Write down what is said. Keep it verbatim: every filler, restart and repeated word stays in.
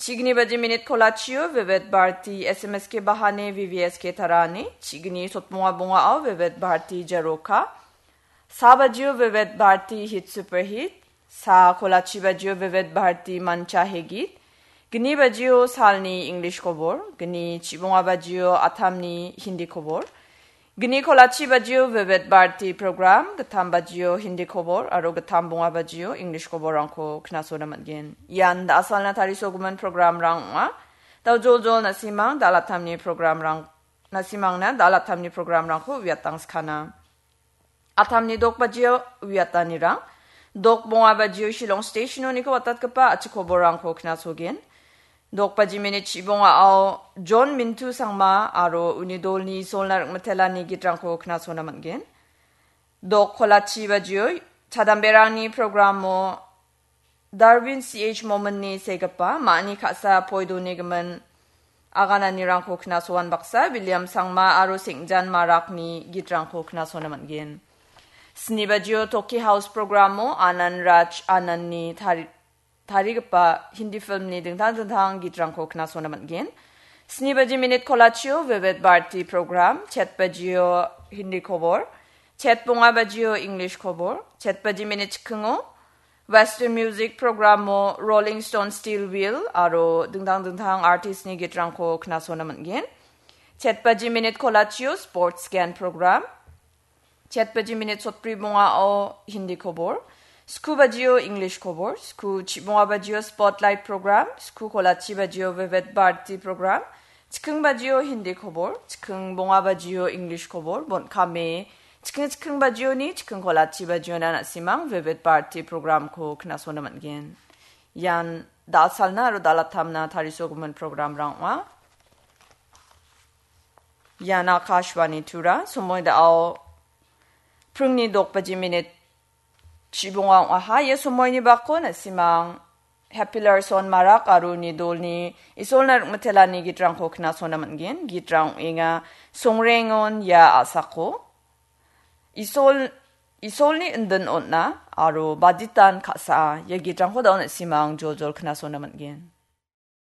Chigni baji minit kolachio Vivid Bharati S M S ke bahane V V S ke tarani. Chigni sotbonga bongao Vivid Bharati Jaroka. Sa bajio Vivid Bharati Hit Super Hit. Sa kolachi bajio Vivid Bharati Mancha Hegit. Gni bajio salni English kobor. Gni chibonga bajio atamni Hindi kobor. Gni kolachi bajio Vivid Bharati program, gittam bajio Hindi kobor, aro gittam bonga bajio English koborrangko knasona man·gen. Ian da·asalna tarisogimin programrang ong·a. Dao joljol na·simang da·alatamni programrang, na·simangna da·alatamni programrangko uiatangskana. Atamni dok bajio uiatanirang, dok bonga bajio Shillong Station-oniko watatgipa a·chik koborrangko knasogen. Dok baji minit chibongao John Mintu Sangma aro uni dolni Isolna Rikmitelani gitrangko knasona man·gen. Dok kolachi bajio chadamberangni programo Darwin C H Mominni segipa ma·ani ka·sa poidoni gimin agananirangko knasoan baksa William Sangma aro Sengjan Marakni gitrangko knasona man·gen. Sni bajio Toki House programo Anand Raj Anandni tari-, tarigipa Hindi filmni dingtang dingtang gitrangko knasona man·gen. Sni baji minit kolachio Vivid Bharati program, chet bajio Hindi kobor, chet bonga bajio English kobor, chet baji minit chikingo Western Music programo Rolling Stone Steel Wheel aro dingtang dingtang artistni gitrangko knasona man·gen. Chet baji minit kolachio Sports Scan program, chet baji minit sotbri bongao Hindi kobor, sku bajio English kobor, sku chibonga bajio Spotlight program, sku kolachi bajio Vivid Bharati program, chiking bajio Hindi kobor, chiking bonga bajio English kobor, bon kame, chiking chiking bajioni, chiking kolachi bajiona na·simang Vivid Bharati programko knasona man·gen. Ian da·salna aro da·alatamna tarisogimin programrang ong·a. Ian Akashvani Tura, somoi da·ao pringni dok baji minit chibonga ong·aha. Ia somoini bako na·simang Happy Larson Marak aro uni dolni Isolna Rikmitelani gitrangko knasona man·gen. Gitrang ong·enga Songrengon ia a·sako, Isol, Isolni indin on·a aro Baditan ka·saa. Ia gitrangko da·o na·simang joljol knasona man·gen.